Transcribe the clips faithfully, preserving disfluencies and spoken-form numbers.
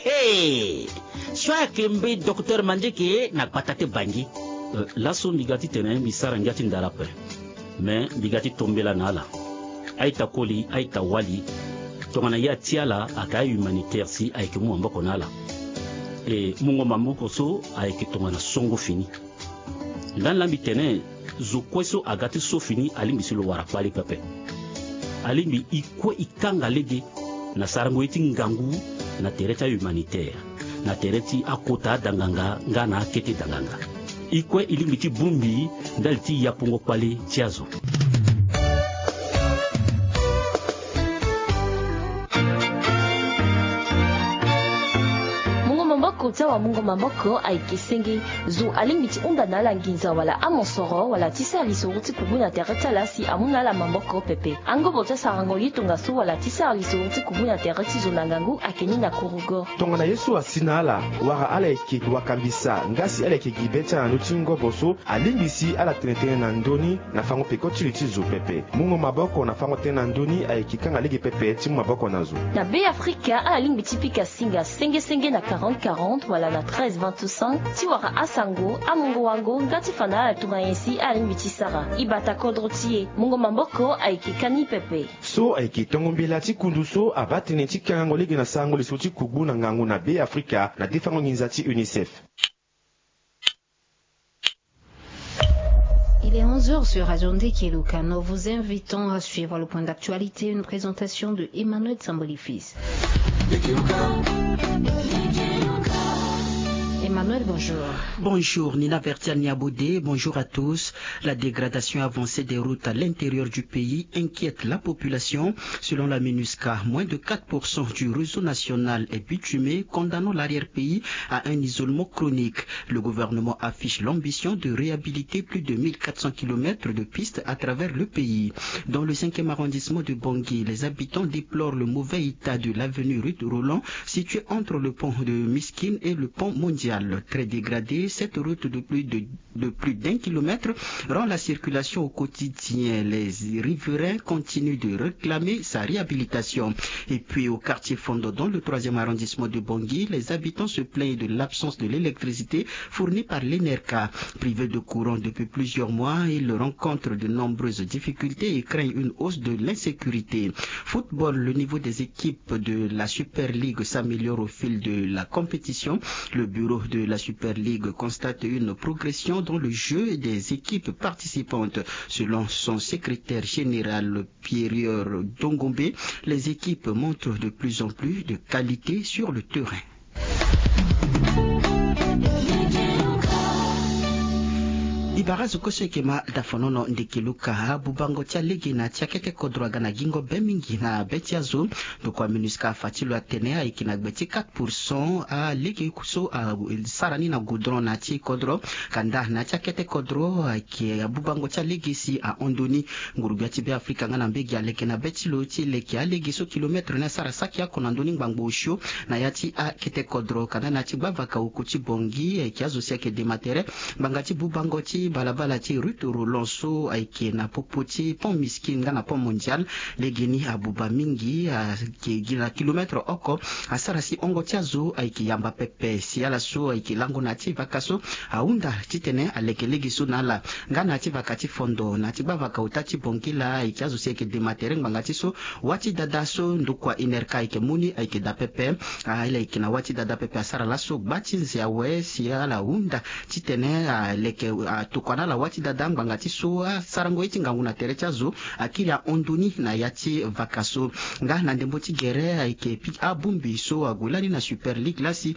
Ee, so ayeke mbeni docteur Mandieke na gbata ti Bangui. Laso mbi ga titene mbi sara ngia ti ndara ape. Me mbi ga ti tombela na ala. A-ita koli, a-ita wali. Tongana ye ati ala ayeke a-humanitaire si ayeke mu maboko na ala. E mungo maboko so ayeke tongana songo fini. Lani laa mbi tene zo kue so aga ti so fini alingbi si lo wara kpale pepe. Alingbi e kue e kanga lege na sarango ye ti ngangu na tere ti a-humanitaire, na tere ti akota adanganga nga na akete danganga. E kue e lingbi ti bongbi ndali ti yapungo kpale ti azo. Mungo maboko ti awamungo maboko ayeke senge. Zo alingbi ti hunda na ala nginza wala amosoro wala ti sara lisoro ti kubu na tere ti ala si amu na ala maboko pepe. Angobo ti asarango ye tongaso wala ti sara lisoro ti kubu na tere ti zo na ngangu ayeke ni na kurugo. Tongana ye so asi na ala wala ala yeke wakambisa nga si ala yeke gi be ti ala na ndö ti ngobo so, alingbi si ala tene tënë na ndö ni na fango peko ti li ti zo pepe. Mungo maboko na fango tënë na ndö ni ayeke kanga lege pepe ti mu maboko na zo. Na Be Afrika ala lingbi ti pika singa senge senge na quarante quarante wala na treize vingt-cinq ti wara asango, amungo wango nga ti fa na ala tongana nyen si ala lingbi ti sara. E bata kodro ti e. Mungo maboko ayeke kani pepe. So ayeke tongo mbela ti kundu so abaa tënë ti kangango lege na sarango lisoro ti kugbu na ngangu na Be Afrika na defango nginza ti UNICEF. Il est onze heures sur Radio Ndekeluka. Nous vous invitons à suivre le point d'actualité, une présentation de Emmanuel Tsamboli Fils. Emmanuel, bonjour. Bonjour, Nina Vertia Niabodé, bonjour à tous. La dégradation avancée des routes à l'intérieur du pays inquiète la population. Selon la MINUSCA, moins de quatre pour cent du réseau national est bitumé, condamnant l'arrière-pays à un isolement chronique. Le gouvernement affiche l'ambition de réhabiliter plus de mille quatre cents kilomètres de pistes à travers le pays. Dans le cinquième arrondissement de Bangui, les habitants déplorent le mauvais état de l'avenue Ruth Roland, située entre le pont de Miskine et le pont Mondial. Très dégradée, cette route de plus de, de plus d'un kilomètre rend la circulation au quotidien. Les riverains continuent de réclamer sa réhabilitation. Et puis au quartier Fondo, dans le troisième arrondissement de Bangui, les habitants se plaignent de l'absence de l'électricité fournie par l'ENERCA. Privés de courant depuis plusieurs mois, ils rencontrent de nombreuses difficultés et craignent une hausse de l'insécurité. Football, le niveau des équipes de la Super League s'améliore au fil de la compétition. Le bureau de la Super League constate une progression dans le jeu des équipes participantes. Selon son secrétaire général, Pierre Dongombe, les équipes montrent de plus en plus de qualité sur le terrain. Ibara zo kue so eke ma dafonono ndeke luka. Abubango ti alege na ti akete kodro aga na gingo be mingi na be ti azo. Ndokua MINUSCA afa ti lo atene ayeke na gbe ti quatre pour cent alege so asara ni na goudron na ti kodro. Kanda na ti akete kodro ayeke abubango ti alege si ahon ndoni. Nguru-gbia ti Be Afrika nga na mbege aleke na be ti lo ti leke alege so kilomètre ni asara saki oko na ndö ni ngbangbo osio na ya ti akete kodro. Kanda na ya ti gbavaka oko ti Bangui ayeke azo si ayeke dema tere ngbanga ti bubango ti balabala ti Ruth Roland so ayeke na popo ti Pont Miskine nga na Pont Mondial. Legeni abuba mingi ayeke gi na kilomètre oko asara si hongo ti azo ayeke yamba pepe si ala so ayeke lango na ya ti vaka so ahunda titene aleke lege so na ala. Nga na ya ti vaka ti Fondo na ya ti gbavaka ota ti Bangui laa ayeke azo si ayeke dema tere ngbanga ti so wâ ti dada so ndokua INERCA ayeke mu ni ayeke daa pepe. Ala yeke na wâ ti dada pepe asara laso gba ti nze awe si ala hunda titene aleke atokua na ala wâ ti dada ngbanga ti so asarango ye ti ngangu na tere ti azo akiri ahon ndoni na ya ti vaka so. Nga na ndembo ti gere ayeke pika abongbi so ague lani na Super League laa si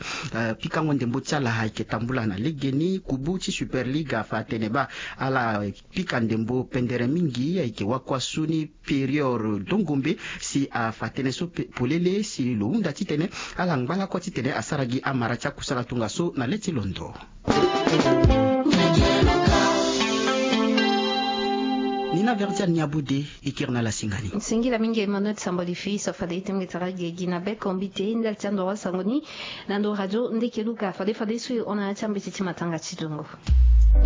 pikango ndembo ti ala ayeke tambula na legeni. Kubu ti Super League afa atene baa ala pika ndembo pendere mingi ayeke wakua so ni Pierre Dongombe si afa tënë so polele si lo hunda titene ala ngba lakue titene asara gi amara ti akusala tongaso na le ti londo. Nina Verdiane Niabode e kiri na ala singani. Singila mingi Emmanuel Samboli Fils, fade ete mbi tara gi gi na be kombi te ndali ti andoro asango ni na ndo radio Ndeke Luka. Fade fade so e hon na ya ti ambeti ti matanga ti dongo.